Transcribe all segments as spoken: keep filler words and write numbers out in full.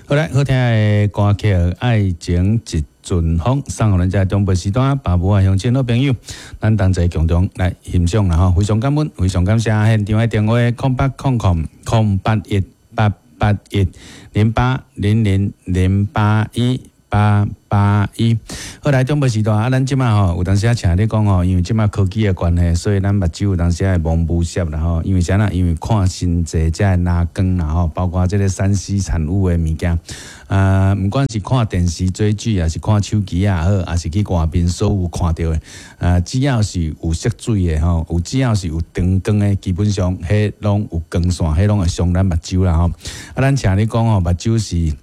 好來，好聽的歌曲《愛情一陣風》，送予咱遮長輩時段爸母啊鄉親好朋友，咱同齊共同來欣賞啦吼，非常感恩，非常感謝現場的電話空八空空空八一八八一零八零零零八一八八一。好來，長輩時段啊，咱這馬吼有當時啊，請你講吼，因為這馬科技的關係，所以咱目睭有當時會模糊澀啦吼。因為啥呢？因為看真濟這藍光啦吼，包括這個三 C 產物的物件，啊，毋管是看電視追劇，抑是看手機也好，抑是去外面所有看著的，啊，只要是有色水的吼，有只要是有燈光的，基本上彼攏有光線，彼攏會傷咱目睭啦吼。啊，咱請你講吼，目睭是。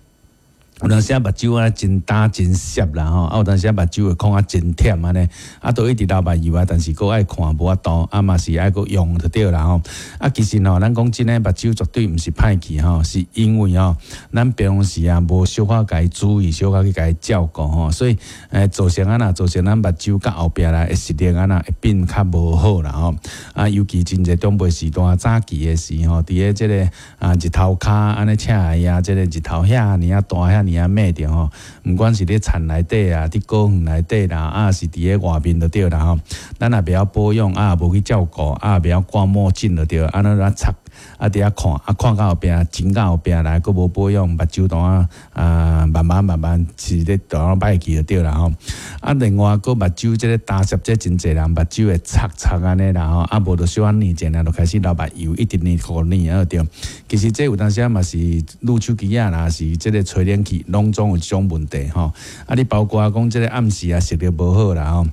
有當時啊，目睭啊真焦真澀啦吼，啊有當時啊目睭會看啊真忝按呢，啊都一直流目油啊，但是閣愛看無法度，啊嘛是愛閣用就對啦吼。啊其實吼，咱講真的，目睭絕對毋是歹去吼，是因為吼，咱平常時啊無小可共伊注意，小可去共伊照顧吼，所以欸造成按怎，造成咱目睭佮後壁來的視力按怎會變較無好啦吼。啊，尤其真濟長輩時代早期的時吼，佇咧這個啊日頭跤按呢赤啊，這個日頭遐爾啊大遐爾啊猛著吼，毋管是佇田內底啊，佇果園內底啦，啊是佇咧外面就對啦吼。咱也袂曉保養，啊也無去照顧，啊也袂曉掛墨鏡就對，按呢咧插，啊佇遐看，啊看到後壁，真到後壁來，閣無保養，目睭當啊啊慢慢慢慢是咧當歹去就對啦吼。啊，另外閣目睭這個焦澀，這真濟人目睭會擦擦按呢啦吼，啊無就小可捏者，就開始流目油，一直捏苦捏啊對。其實這有當時啊嘛是攄手機仔啦，是這個吹冷氣，攏總有這種問題吼。啊，你包括講這個暗時啊視力無好啦吼。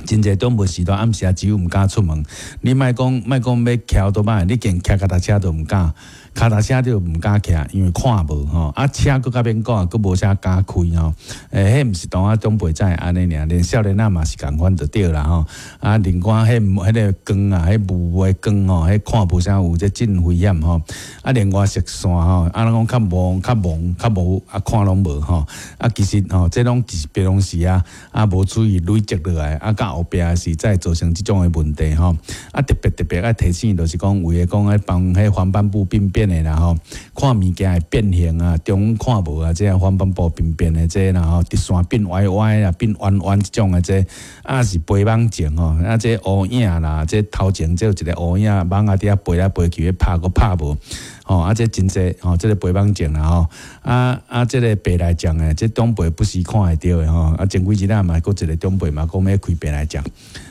真濟長輩時代暗時啊，只有毋敢出門。你莫講莫講欲騎歐多擺，你連騎腳踏車都毋敢，跤踏車都毋敢騎，因為看無吼。啊，車閣較免講，閣無啥敢開吼。欸，彼毋是當啊長輩才會按呢爾，連少年仔嘛是仝款就對啦吼。啊，另外彼彼个光啊，彼霧霧的光吼，彼看無啥有，這真危險吼。啊，另外視線吼，啊，咱講較朦較朦較無啊，看攏無吼。啊，其實吼，這攏是平常時啊，啊無注意累積落來，啊，到後壁是才會造成這種的問題吼。啊，特別特別愛提醒，就是講為了講愛幫彼黃斑部病變的啦吼，看物件會變形啊，中看無啊，這黃斑部病變的這啦吼，直線變歪歪啊，變彎彎這種的這，啊是飛蚊症吼，啊這烏影啦，這頭前這有一個烏影，蠓仔佇遐飛來飛去，拍閣拍無。吼，啊，這真濟吼，這個飛蚊症啦吼，啊啊，這個白內障的，這長輩不時看會著的吼，啊，前幾日仔嘛，閣一個長輩嘛講欲開白內障，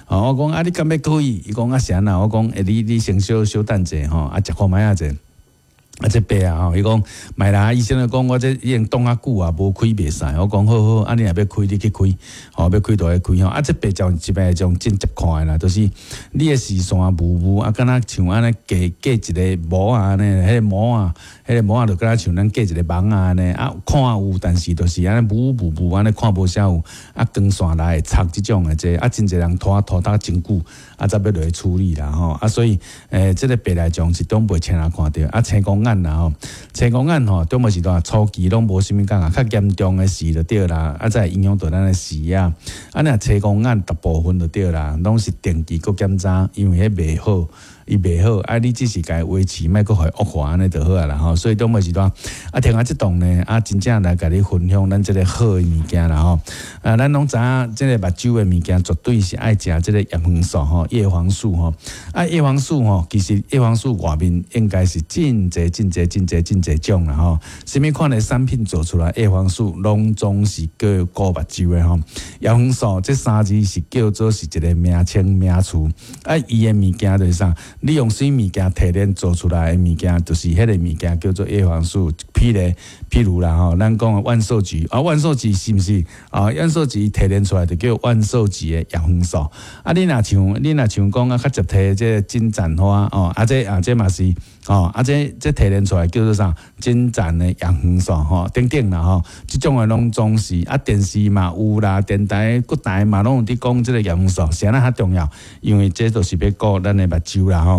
吼，我講啊，你敢欲可以？伊講啊，是按怎？我講，欸，你你先小小等者吼，啊，食看覓仔者。啊，這白啊吼，伊講莫啦，醫生就講我這已經擋較久啊，無開袂使。我講好好，啊你若欲開，你去開，吼，欲開就去開吼。啊，這白障一白障真捷看的啦，就是你的視線霧霧啊，敢若像按呢蓋蓋一個膜仔按呢，彼個膜仔，彼個膜仔就敢若像咱蓋一個網仔按呢，啊，看有，但是就是按呢霧霧霧按呢看無啥有，啊，光線來會插這種的這，啊，真濟人拖拖得真久，啊，才欲落去處理啦吼。啊，所以，欸，這個白內障是長輩青人看著，啊，青光眼啦吼，青光眼吼，長輩時代初期攏無啥物感覺，較嚴重的時就對啦，啊，才會影響到咱的視野。啊，若青光眼大部分就對啦，攏是定期閣檢查，因為彼袂好。伊袂好，啊，你只是共伊維持，莫閣予伊惡化按呢就好啊啦吼。所以長輩時代，啊，聽下這段呢，啊，真正來共你分享咱這個好的物件啦吼。啊，咱攏知影這個目睭的物件絕對是愛食這個葉黃素吼，葉黃素吼。啊，葉黃素吼，其實葉黃素外面應該是真濟真濟真濟真濟種啦吼。啥物款的產品做出來，葉黃素攏總是叫顧目睭的吼。葉黃素這三字是叫做是一個名稱名詞，啊，伊的物件就是啥？你用啥物件提煉做出來的物件，就是彼個物件叫做葉黃素。譬如，譬如啦吼，咱講的萬壽菊啊，萬壽菊是毋是啊？萬壽菊提煉出來就叫萬壽菊的葉黃素。啊，你若像你若像講啊，較捷提這個金盞花哦，啊這啊這嘛是哦，啊這這提煉出來叫做啥？金盞的葉黃素吼，等等啦吼，這種的攏總是啊，電視嘛有啦，電台各台嘛攏有佇講這個葉黃素，啥物較重要？因為這就是欲顧咱的目睭啦吼。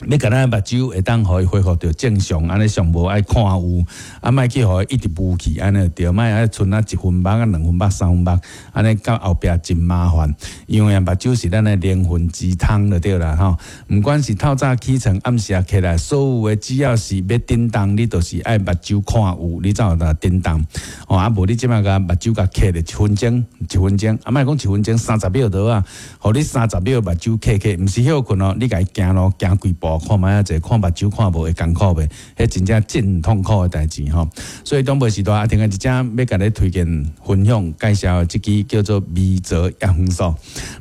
欲共咱目睭會當予伊恢復著正常，按呢上無愛看有，啊莫去予伊一直霧去，按呢對，莫愛賰啊一分目啊兩分目三分目，按呢到後壁真麻煩。因為目睭是咱的靈魂之窗就對啦吼。毋管是透早起床、暗時仔起來，所有的只要是欲振動，你就是愛目睭看有，你才有得振動。吼啊無你這擺共目睭共瞌咧一分鐘，一分鐘，啊莫講一分鐘，三十秒就好啊。予你三十秒目睭瞌瞌，毋是歇睏哦，你共伊行路行幾步。看覓仔者，看目睭看無會艱苦袂？彼真正真痛苦的代誌吼。所以長輩時代阿婷啊，一隻欲共你推薦分享介紹的這支叫做微藻葉黃素。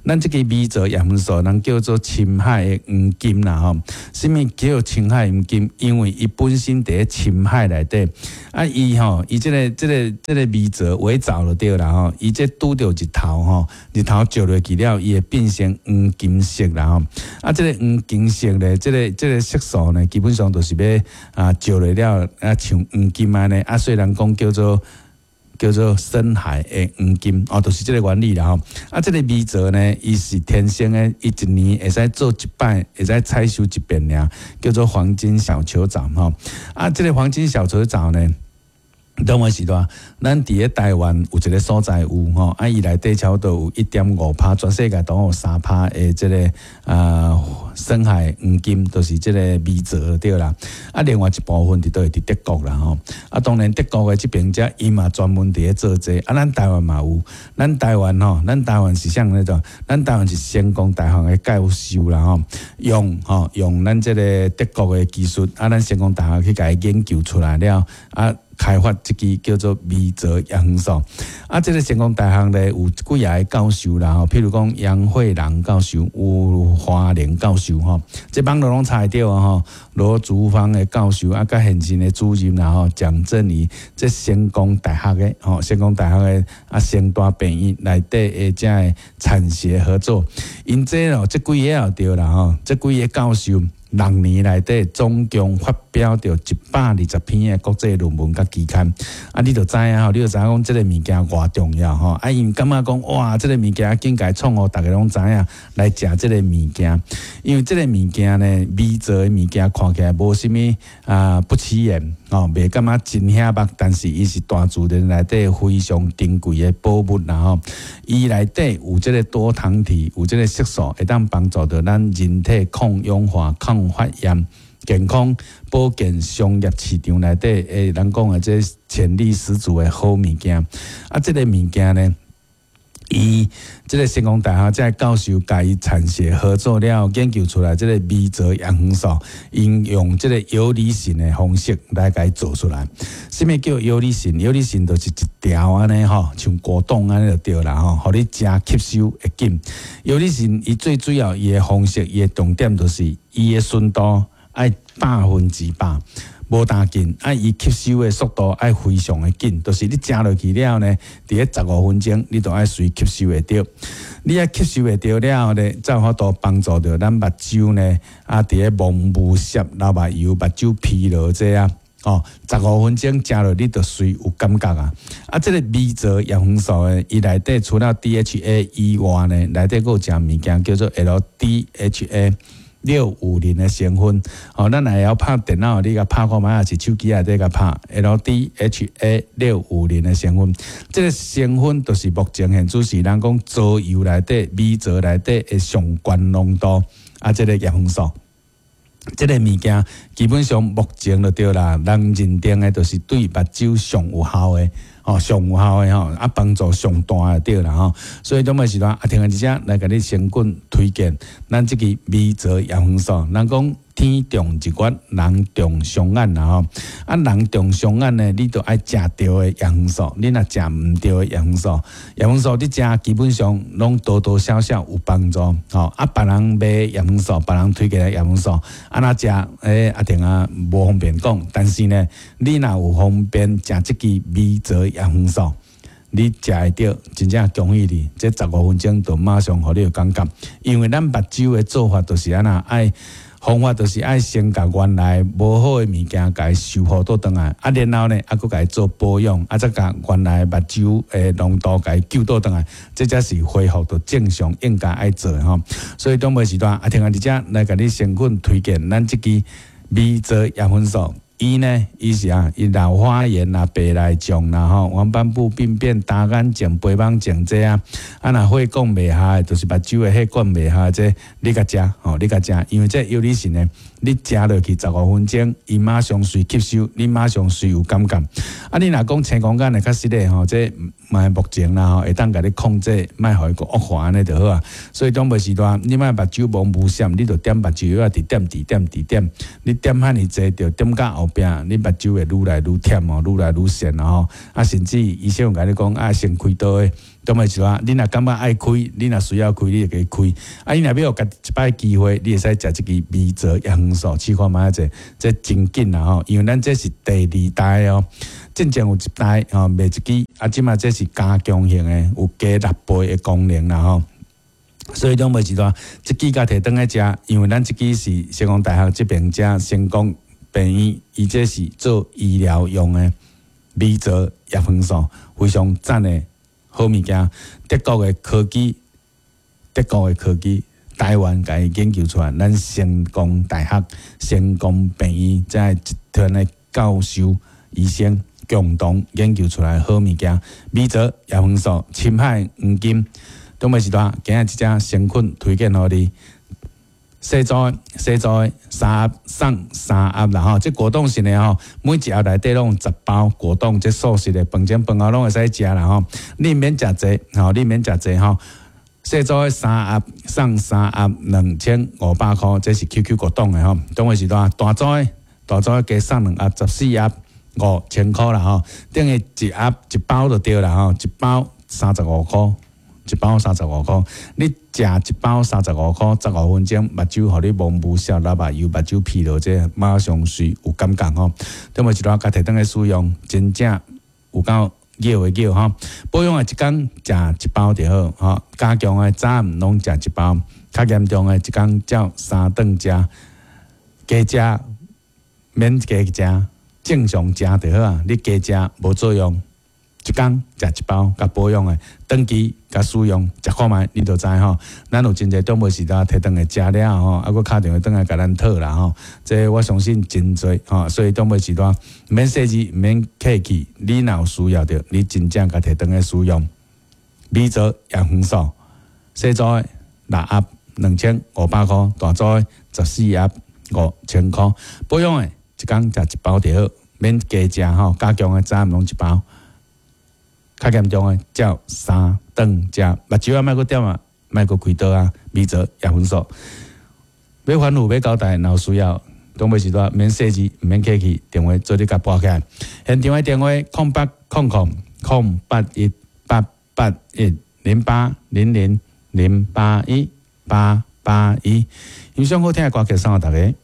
咱這支微藻葉黃素，人叫做深海的黃金啦吼。啥物叫深海黃金？因為伊本身佇咧深海內底，啊伊吼，伊這个這个這个微藻微藻就對啦吼。伊這拄著日頭吼，日頭照落去了，伊會變成黃金色啦吼。啊，這个黃金色咧，這个這个色素呢，基本上就是欲啊照落了啊，像黃金按呢。啊，雖然講叫做叫做深海的黃金哦，就是這个原理啦吼。啊，這个微藻呢，伊是天生的，伊一年會使做一擺，會使採收一遍爾，叫做黃金小球藻吼。啊，這个黃金小球藻呢，當時時代，咱佇咧台灣有一个所在有吼，啊，伊內底差不多有一點五趴，全世界都有三趴的這个啊深海黃金，就是這个微藻對啦。啊，另外一部分佇佗佇德國啦吼。啊，當然德國的這邊遮伊嘛專門佇咧做這個。啊，咱台灣嘛有，咱台灣吼，咱台灣是啥那種？咱台灣是成功大學的教授啦吼，用吼用咱這个德國的技術，啊，咱成功大學去共伊研究出來了啊。開發這支叫做微藻葉黃素，啊，這个成功大學咧有幾个教授啦吼，譬如講楊惠蘭教授、吳華玲教授吼，這網路攏查會著啊吼。羅竹芳的教授啊，佮現任的主任啦吼，蔣振宇，這成功大學的吼，成功大學的啊，成大病院內底的這个產學合作，𪜶這哦，這幾个也對啦吼，這幾个教授。六年內底總共發表著一百二十篇的國際論文佮期刊，啊，你就知影吼，你就知影講這个物件偌重要吼。啊，𪜶感覺講哇，這个物件境界創予逐家攏知影來食這个物件，因為這个物件呢，微藻的物件看起來無啥物啊不起眼吼，袂感覺真顯目，但是伊是大自然內底非常珍貴的寶物啦吼。伊內底有這个多糖體，有這个色素，會當幫助著咱人體抗氧化、抗發炎、健康保健商業市場內底，欸，人講的這潛力十足的好物件。啊，這个物件呢，伊這个成功大學這个教授共伊產學合作了，研究出來這个微藻葉黃素，應用這个游離蕈的方式來共伊做出來。啥物叫游離蕈？游離蕈就是一條按呢吼，像果凍按呢就對啦吼，予你食吸收會緊。游離蕈伊最主要伊的方式，伊的重點就是伊的純度愛百分之百。無焦緊，啊，伊吸收的速度愛非常的緊，就是你食落去了呢，佇咧十五分鐘，你就愛隨吸收會著。你愛吸收會著了後呢，才有法度幫助著咱目睭呢，啊，佇咧蒙霧澀、流目油、目睭疲勞這啊，哦，十五分鐘食落你就隨有感覺啊。啊，這个微藻葉黃素的，伊內底除了 D H A 以外呢，內底閣有一項物件叫做 L D H A。六五零的成分，哦，咱若會曉拍電腦，你共拍看覓，抑是手機內底共拍 L D H A 六五零的成分，這个成分就是目前現主時人講藻油內底、微藻內底的上懸濃度，啊，這个葉黃素。這个物件基本上目前就對啦，人認定的就是對目睭上有效的，吼，上有效的吼，啊，幫助上大的對啦吼。所以這擺時陣阿聽佇遮來共你先滾推薦，咱這支微藻葉黃素，人講天長日月，人長雙眼啦吼。啊，人長雙眼呢，你就愛食對的葉黃素。你若食毋對的葉黃素，葉黃素你食基本上攏多多少少有幫助。吼，啊，別人賣葉黃素，別人推薦的葉黃素，按怎食？欸，阿婷啊，無方便講。但是呢，你若有方便食這支微藻葉黃素，你食會著，真正恭喜你！這十五分鐘就馬上予你有感覺，因為咱目睭的做法就是按怎愛。方法就是愛先共原來無好的物件共伊修復倒轉來，啊，然後呢，啊，閣共伊做保養，啊，再共原來目睭的濃度共伊救倒轉來，這才是恢復到正常應該愛做的吼。所以長輩時段，啊，聽下佇遮來共你誠懇推薦咱這支微造葉黃素。伊呢，伊是啊，伊老花眼啦、白內障啦、吼，黃斑部病變、單眼症、飛蚊症這啊，啊，若血管袂合的，就是目睭的血管袂合這，你共食吼，你共食，因為這藥理性呢，你食落去十五分鐘，伊馬上隨吸收，你馬上隨有感覺。啊，你若講青光眼的較實的吼，這嘛目前啦吼，會當共你控制，莫予伊閣惡化按呢就好啊。所以長輩時代，你莫目睭摸無閃，你就點目睭藥仔，直點直點直點，你點遐爾濟，就點到後壁，你目睭會愈來愈忝哦，愈來愈癬吼。啊，甚至醫生有共你講，啊，先開刀的。長輩時代，你若感覺愛開，你若需要開，你就共開。啊，你若欲予家己一擺機會，你會使食這支微造葉黃素，試看覓者，這真緊啦吼，因為咱這是第二代哦，進前有一代吼賣一支，啊，這馬這是加強型的，有加六倍的功能啦吼。所以長輩時代，這支共提轉來食，因為咱這支是成功大學這邊遮成功病院，伊這是做醫療用的微造葉黃素，非常讚的好物件。德國的科技，德國的科技，台灣共伊研究出來，咱成功大學、成功病院這一團的教授、醫生共同研究出來的好物件，微造葉黃素、深海黃金，長輩時代，今日這隻誠懇推薦予你。細組細組三盒送三盒啦吼，這果凍型的吼，每一盒內底攏有十包果凍，這素食的飯前飯後攏會使食啦吼。你毋免食濟吼，你毋免食濟吼。細組的三盒送三盒兩千五百箍，這是 Q Q 果凍的吼。長輩時代大組的大組的加送兩盒十四盒五千箍啦吼，等於一盒一包就對啦吼，一包三十五箍。一包三十五箍，你食一包三十五箍，十五分鐘目睭予你摸無痟流目油，目睭疲勞，這馬上隨有感覺吼。長輩時代共提轉來使用，真正有夠妙的妙吼。保養的一工食一包就好吼，加強的早暗攏食一包，較嚴重的一工照三頓食，加食免加食，正常食就好啊。你加食無作用。一工食一包，共保養的，長期共使用，食看覓你就知吼。咱有真濟長輩時代提轉來食了吼，啊，閣敲電話轉來共咱討啦吼。這我相信真濟吼，所以長輩時代毋免細緻，毋免客氣，你若有需要著，你真正共提轉來使用。微造葉黃素，細組的六盒兩千五百箍，大組的十四盒五千箍。保養的一工食一包就好，免加食吼，加強的早暗攏一包。較嚴重的照三頓食，目睭啊，莫閣點啊，莫閣開刀啊，微造葉黃素。欲反覆欲交代，若有需要，長輩時代免細緻，毋免客氣，電話做你共撥起來。現場的電話：空八空空空八一八八一零八零零零八一八八一。欣賞好聽的歌曲送予大家。